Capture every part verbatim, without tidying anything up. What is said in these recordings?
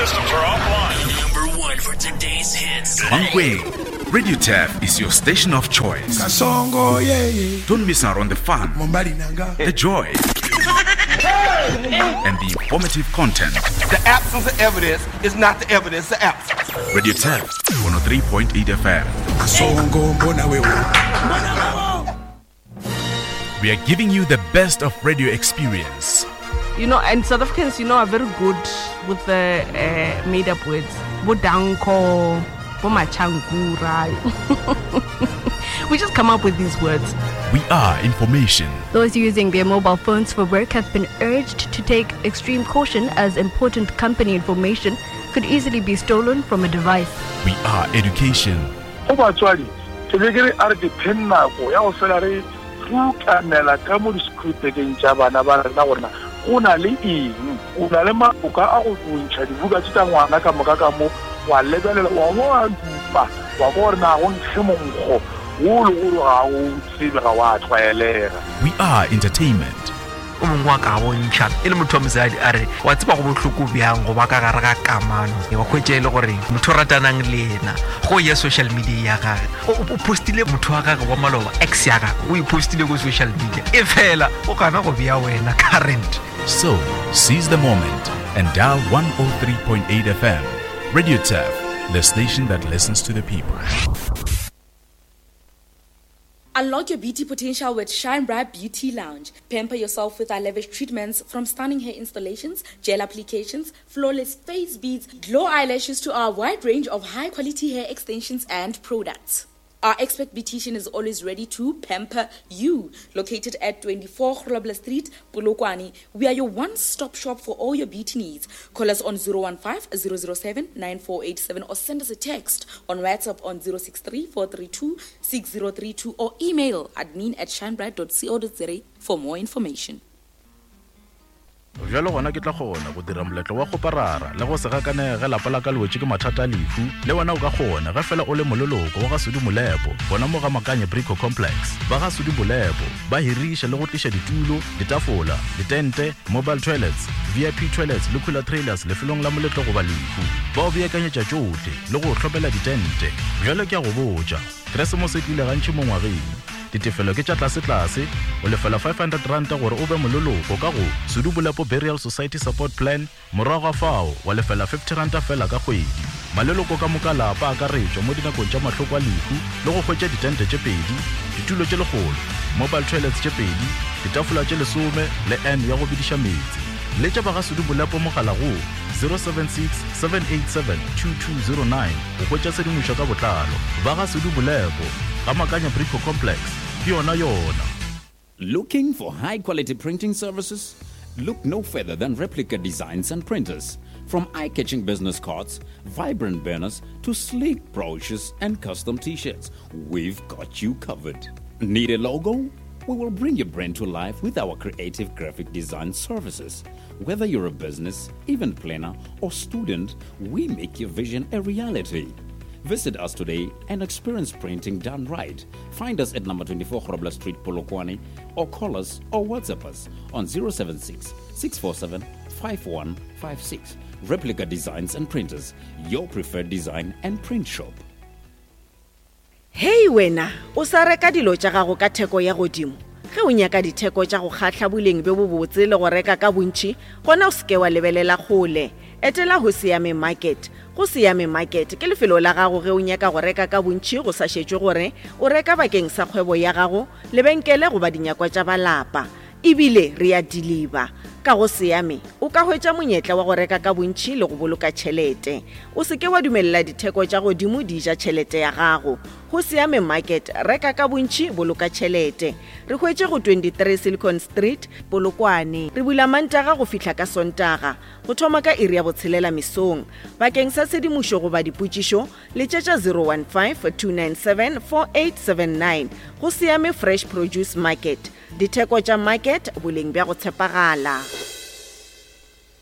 systems are offline. Number one for today's hits. Mankweng, Radio Turf is your station of choice. Kasongo, yeah, yeah. Don't miss out on the fun, Mombali nanga. the joy, and the informative content. The absence of evidence is not the evidence of absence. Radio Turf, one oh three point eight F M. Kasongo, mbona wewe. We are giving you the best of radio experience. You know, and South Africans, you know, are very good with the, uh, made-up words. Bodanko, Bomachangura. We just come up with these words. We are information. Those using their mobile phones for work have been urged to take extreme caution as important company information could easily be stolen from a device. We are education. Go batswadi, ke be ke re a re ke phe nako ya go fela re rutanela ka mo di-scripteng tša bana ba rena gore na go na le eng, o na le maboka a go ntšha dibuka tše tša ngwana ka moka ka mo, wa lebelela, wa bo wa dupa, wa kwa gore na go nkge monkgo wo le gore ga o tsebe, ga wa tlwaelega. We are entertainment. O mongwe wa ka bontšha e le motho wa mosadi a re wa tseba go bohloko bjang go ba ka gare ga kamano, wa hwetša e le gore motho o ratanang le yena go ya social media ya gage, o, o postile motho wa gage wa maloba, ex ya gage, o e postile ko social media, e fela o gana go bea wena current. So seize the moment and dial one oh three point eight F M. Radio Turf, the station that listens to the people. Unlock your beauty potential with Shine Bright Beauty Lounge. Pamper yourself with our lavish treatments, from stunning hair installations, gel applications, flawless face beads, glow eyelashes to our wide range of high-quality hair extensions and products. Our expert beautician is always ready to pamper you. Located at twenty-four Grobler Street, Polokwane, we are your one-stop shop for all your beauty needs. Call us on zero one five, zero zero seven, nine four eight seven or send us a text on WhatsApp on zero six three, four three two, six zero three two or email admin at shinebright dot co dot za for more information. Bjalo gona ke tla kgona go dira moletlo wa go parara le go se gakanege lapa la ka le wetše ke mathata a lehu, le wena o ka kgona ge fela o le moleloko wa ga Sudi Molepo, gona mo ga Makanye Brico Complex. Ba ga Sudi Molepo ba hiriša le go tliša ditulo, ditafola, ditente, mobile toilets, V I P toilets le cooler trailers lefelong la moletlo goba lehu. Ba o beakanyetša tšohle le go hlopela ditente. Bjalo ke a go botša, Keresemose e tlile gantši mo ngwageng. Ditefelo ke tša tlase-tlase, o lefela five hundred ranta gore o be moleloko ka go Sudi Molepo Burial Society Support Plan, morago ga fao wa lefela fifty ranta fela ka kgwedi. Maleloko ka moka lapa a akaretšwa mo dinakong tša mahloko a lehu le go hwetša ditente tše pedi, ditulo tše lekgolo, mobile toilets tše pedi, ditafola tše lesome le N ya go bediša meetse. Letša ba ga Sudi Molepo mogala go zero seven six, seven eight seven, two two zero nine go hwetša tshedimošo ka botlalo. Ba ga Sudi Molepo, ga Makanya Brico Complex, ke yona yona. Looking for high-quality printing services? Look no further than Replica Designs and Printers. From eye-catching business cards, vibrant banners, to sleek brochures and custom t-shirts, we've got you covered. Need a logo? We will bring your brand to life with our creative graphic design services. Whether you're a business, event planner, or student, we make your vision a reality. Visit us today and experience printing done right. Find us at number twenty-four Grobler Street, Polokwane, or call us or WhatsApp us on zero seven six, six four seven, five one five six. Replica Designs and Printers, your preferred design and print shop. Hey wena, o sa reka dilo tša gago ka theko ya godimo. Ge o nyaka ditheko tša go kgahla boleng bjo bobotse le go reka ka bontši, gona o seke wa lebelela kgole. Etela go Siame Market. Go Siame Market ke lefelo la gago ge o nyaka go reka ka bontši go sa šetšwe gore o reka bakeng sa kgwebo ya gago, lebenkele goba dinyakwa tša balapa. Ebile re a deliver. Ka go Siame o ka hwetša monyetla wa go reka ka bontši le go boloka tšhelete. O seke wa dumelela ditheko tša godimo di ja tšhelete ya gago. Go Siame Market, reka ka bontši, boloka tšhelete. Re hwetše go twenty-three Silicon Street, Polokwane. Re bula Mantaga go fihla ka Sontaga, go thoma ka iri ya botshelela mesong. Bakeng sa tshedimošo goba dipotšišo, letšetša zero one five, two nine seven, four eight seven nine. Go Siame Fresh Produce Market. Ditheko tša market, boleng bja go tshepagala.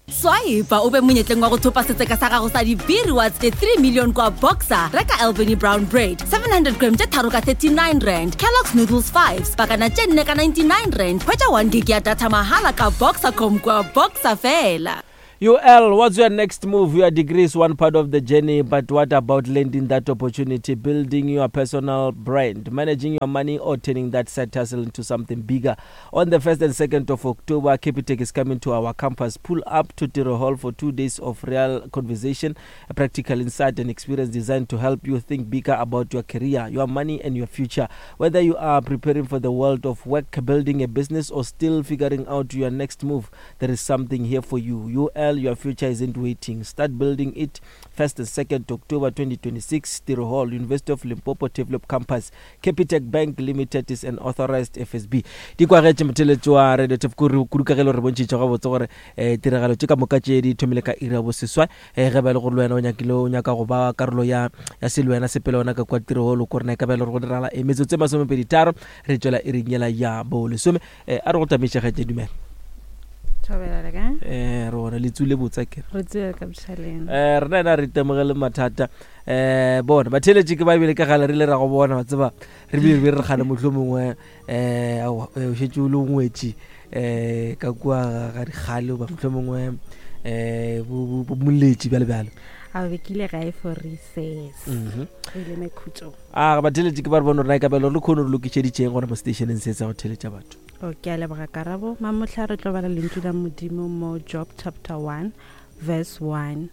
Swipe o be monyetleng wa go thopa setseka sa gago sa di-B rewards tše three million kwa Boxer. Reka Albany Brown Bread seven hundred gram tše tharo ka thirty-nine rand, Kellogg's Noodles fives pakana tše nne ka ninety-nine rand. Hwetša one gig ya data mahala ka Boxercom kwa Boxer fela. U L, what's your next move? Your degree is one part of the journey, but what about landing that opportunity, building your personal brand, managing your money, or turning that side hustle into something bigger? On the first and second of October, Capitec is coming to our campus. Pull up to Tiro Hall for two days of real conversation, a practical insight and experience designed to help you think bigger about your career, your money, and your future. Whether you are preparing for the world of work, building a business, or still figuring out your next move, there is something here for you. U L, your future isn't waiting. Start building it. First and second October twenty twenty-six, Tiro Hall, University of Limpopo Turfloop Campus. Capitec Bank Limited is an authorized F S B. Di kwagetše motheletši wa Radio Turf Kuru kudu ka ge le re bontšhitše gabotse gore eh tiragalo tše ka moka tše di thomile ka iri ya boseswai. Eh ge ba le gore le wena o nyakile o nyaka go ba karolo ya ya se le wena sepele ona ka kwa Tiro Hall ko rena e ka ba le gore go diragala e metsotso e masomepedi tharo re tšwela iring yela ya bolesome. Eh a re go tamiše ge tše dumela. Thobela le kae? Eh re bona le tsule botsa ke. Re tsule ka botšhaleng. Eh rena ena re itemogele mathata. Eh bona batheletši ke ba bile ka gale re ile ra go bona wa tseba re bile re re gane mohlomongwe eh o šetše o le ngwetši eh ka kua ga dikgale ba mohlomongwe eh bo bo moletši bjale bjale. A be ke ile gae for recess. Mhm. Re ile mekhutšong. A batheletši ke ba re bona rena ka belo re khone re lokišeditšeng gona mo stationeng se tsa go theletša batho. O ke a leboga Karabo. Mamohla re tlo bala lentšu la Modimo mo Job chapter one verse one.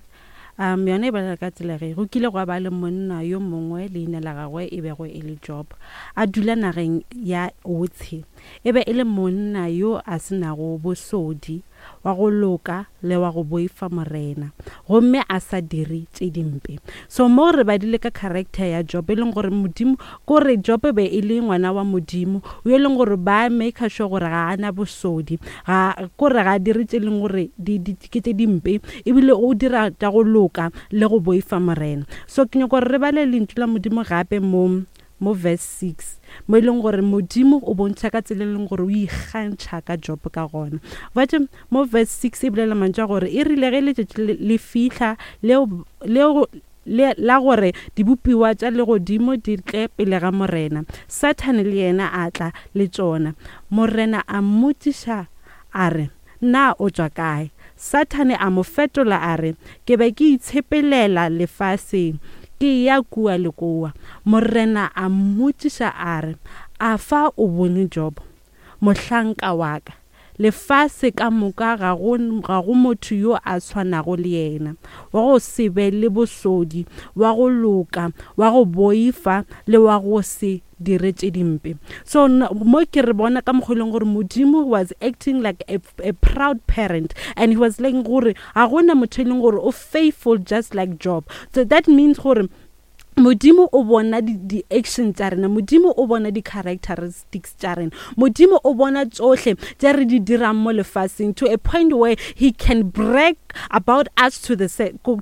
Um yona e bolela ka tsela ge go kile gwa ba le monna yo mongwe leina la gagwe e bego e le Job, a dula nageng ya Otse. E be e le monna yo a senago bosodi, wa go loka le wa go boifa morena, gomme a sa dire tše dimpe. So mo re badile ka character ya Job, e leng gore Modimo kore Job be e le ngwana wa Modimo, o e leng gore ba make sure gore ga ana bosodi, ga kore ga dire tše leng gore di ke tše dimpe, ebile o dira tša go loka le go boifa morena. So ke nyaka gore re bale lentšu la Modimo gape mo mo verse six, mo e leng gore Modimo o bontšha ka tsela e leng gore o ikgantšha ka Job ka gona. Batho mo verse six e bolela mantšu a gore e rile ge letšatši le fihla leo leo le la gore dibopiwa tša legodimo di tle pele ga morena, Sathane le yena a tla le tšona. Morena a mmotšiša a re, na o tšwa kae? Sathane a mo fetola a re, ke be ke itshepelela lefaseng, ke ya kua le kua. Morena a mmotšiša a re, a fa o bone Job, mohlanka wa ka? Lefase ka moka ga go ga go motho yo a tshwanago le yena, wa go se be le bosodi, wa go loka, wa go boifa le wa go se dire tše dimpe. So mo ke re bona ka mokgwa e leng gore Modimo was acting like a, a proud parent, and he was like gore ga gona motho e leng gore o faithful just like Job. So that means gore Modimo o bona di action tša rena, Modimo o bona di characteristics tša rena, Modimo o bona tsohle tše re di dirang mo lefaseng, to a point where he can brag about us to the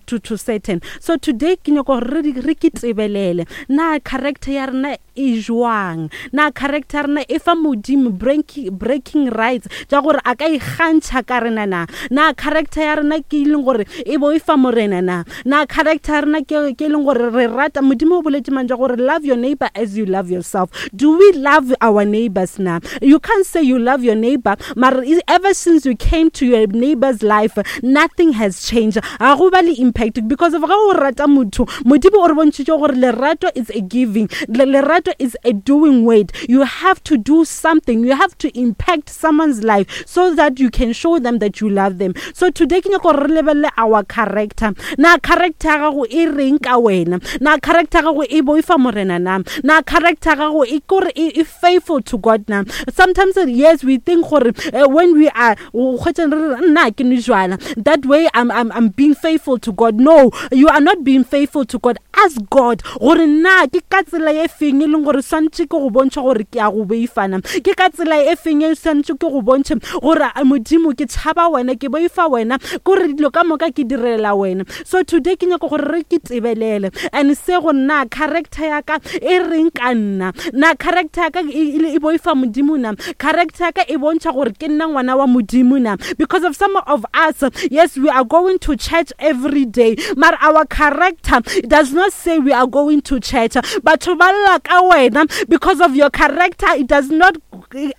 to, to Satan. So today ke nyaka gore re ke tebelele na character ya rena e jwang, na character ya rena e fa Modimo breaking, breaking rights tša gore a ka ikgantšha ka rena na, na character ya rena ke e leng gore e boifa morena na, na character ya rena ke e leng gore re rata Modimo. O boletše mantšu a gore love your neighbor as you love yourself. Do we love our neighbors na? You can't say you love your neighbor, but ever since you came to your neighbor's life, nothing has changed. Ga go ba le impact, because of ga o rata motho, Modimo o re bontšhitše gore lerato is a giving, lerato is a doing word. You have to do something, you have to impact someone's life so that you can show them that you love them. So today ke nyaka gore re lebelele our character. Na character ya gago e reng ka wena? Na character ya gago e boifa morena na? Na character ya gago e kore e faithful to God na? Sometimes yes, we think gore uh, when we are nna ke nwe jwala, that way I'm, I'm, I'm being faithful to God. No, you are not being faithful to God. Ask God gore na ke ka tsela e feng e leng gore swantše ke go bontšha gore ke a go boifana, ke ka tsela e feng e swantše ke go bontšhe gore Modimo ke tšhaba wena, ke boifa wena, kore dilo ka moka ke direla wena. So today ke nyaka gore re ke tebelele and se go nna character ya ka e reng ka nna, na character ya ka e boifa Modimo na, character ya ka e bontšha gore ke nna ngwana wa Modimo na. Because of some of us, yes, we are going to church every day, but our character does not say we are going to church. Batho ba lla ka wena because of your character. It does not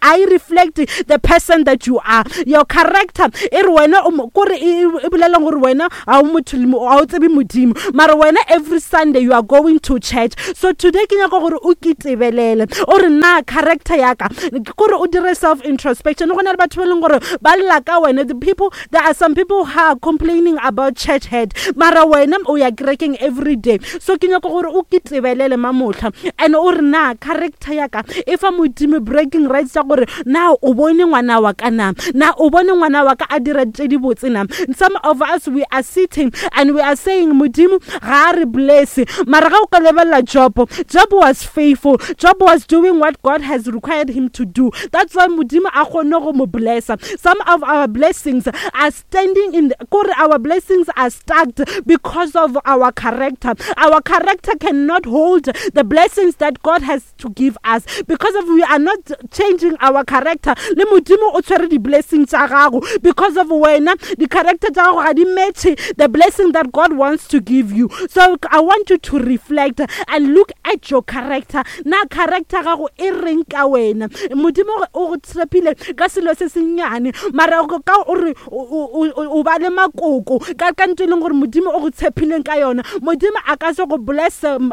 I reflect the person that you are. Your character e re wena o mo- kore e e bolela gore wena ga o motho le mo- ga o tsebe modimo, mara wena every Sunday you are going to church. So today ke nyaka gore o kitebelele o re na character ya ka, kore o dire self introspection. Go na le batho ba e leng gore ba lla ka wena. The people, there are some people who are complaining about church head, mara wena o ya kerekeng every day. So ke nyaka gore o kitebelele mamotlha and o re na character ya ka e fa modimo breaking rights ya gore na o bone ngwana wa ka na na o bone ngwana wa ka a dira tse di botse na. Some of us, we are sitting and we are saying modimo ga a re bless, mara ga o ka lebelela Job, Job was faithful. Job was doing what God has required him to do. That's why modimo a kgonne go mo blessa. Some of our blessings are standing in the, kore our blessings are stuck because of our character. Our character cannot hold the blessings that God has to give us because of we are not changing our character. Le modimo o tshwere di-blessings tsa gago because of wena di-character tsa gago ga di match the blessing that God wants to give you. So I want you to reflect and look at your character. Na character gago e reng ka wena? Modimo o go tshepile ka selo se sennyane, mara o ka o re o- o o- o ba le makoko ka ka ntho e leng gore modimo o go tshepileng ka yona. Modimo a ka se go bless um,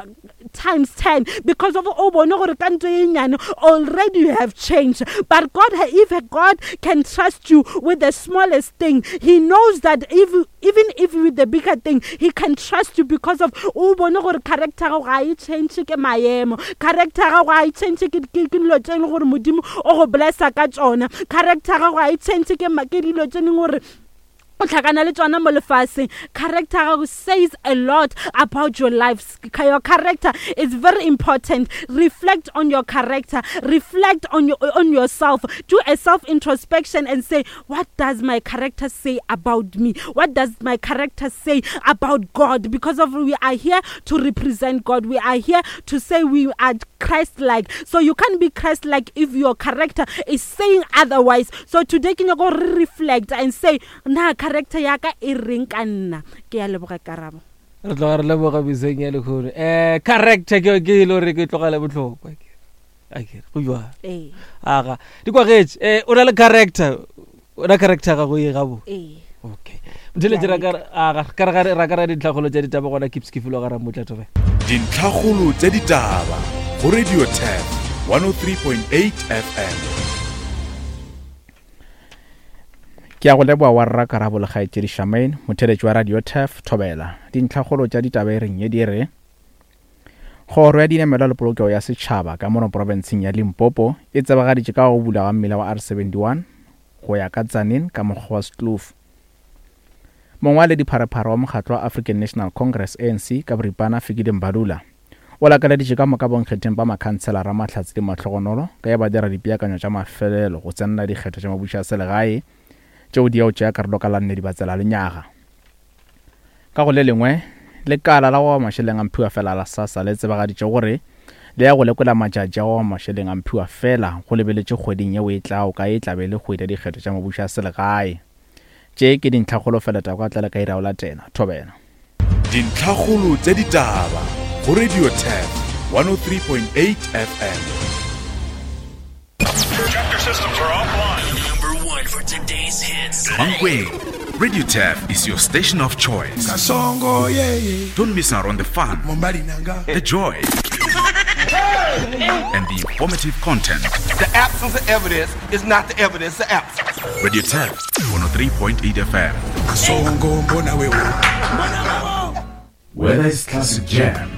times ten because of o bone gore ka ntho e nnyane already you have changed. But God, if God can trust you with the smallest thing, he knows that if even if with the bigger thing he can trust you because of o bone gore character gago ga e change ke maemo, character gago ga e change ke ke ke dilo tse e leng gore modimo o go blessa ka tsona, character gago ga e change ke ma- ke dilo tse e leng gore o tlhakana le tsona mo lefatsheng. Character gago says a lot about your life. Your character is very important. Reflect on your character, reflect on your on yourself, do a self introspection and say, what does my character say about me? What does my character say about God? Because of we are here to represent God. We are here to say we are Christ-like. So you can't be Christ-like if your character is saying otherwise. So today ke nyaka gore re reflect and say, na character ya ka e reng ka nna? Ke ya leboga, Karabo. Re tloga re leboga beseng ya lekgono. um character ke ke e le gore ke tlogale botlhokwa akere go jwang? Ee. Aga di kwagetse um o na le character, o na character gago e gabo. Ee. Okay, motheletše ra ka aga ka re ga- ra ka ra dintlhakgolo tša ditaba gona keeps ke filo ga ramotla tobe. Dintlhakgolo tša ditaba go Radio Tap one oh three point eight F M. Ke a go leboa wa rra Karabo le kgaetšedi Shamain, motheletši wa Radio Taf Thobela. Dintlhakgolo tša ditaba e reng ye di re kgoro ya dinamelwa le polokego ya setšhaba ka mono profenseng ya Limpopo e tsebagaditše ka go bula ga mmila wa R seventy-one go ya ka Tzaneen ka mokgwa wa Stloof. Mongwaledi pharephare wa mokgatlo wa African National Congress, A N C ka boripana, Fikile Mbalula o lakaleditše ka moka bonkgetheng ba makhanselara mahlatse le mahlogonolo ka ya ba dira dipeakanyo tša mafelelo go tsenela dikgetho tša mabušo a selegae tšeo di ya go tšea karolo ka la nne Dibatsela lenyaga. Ka go le lengwe, lekala la go aba mašeleng a mphiwa fela la SASSA le tsebagaditše gore le ya go lekola matšatši a go aba mašeleng a mphiwa fela go lebeletše kgweding yeo e tlago ka e tlabe le kgwedi ya dikgetho tša mabušo a selegae. Tše ke dintlhakgolo fela taba ka tlale ka ira o latela thobela. Dintlhakgolo tša ditaba go Radio Tap one oh three point eight F M. Chapter systems are offline. Number one for today's hits. Mankweng, Radio Tap is your station of choice. Kasongo yeye. Don't miss out on the fun, Mombali nanga. The joy, and the informative content. The absence of evidence is not the evidence of absence. Radio Tap one oh three point eight F M. Kasongo mbona wewe. Whether it's classic jams,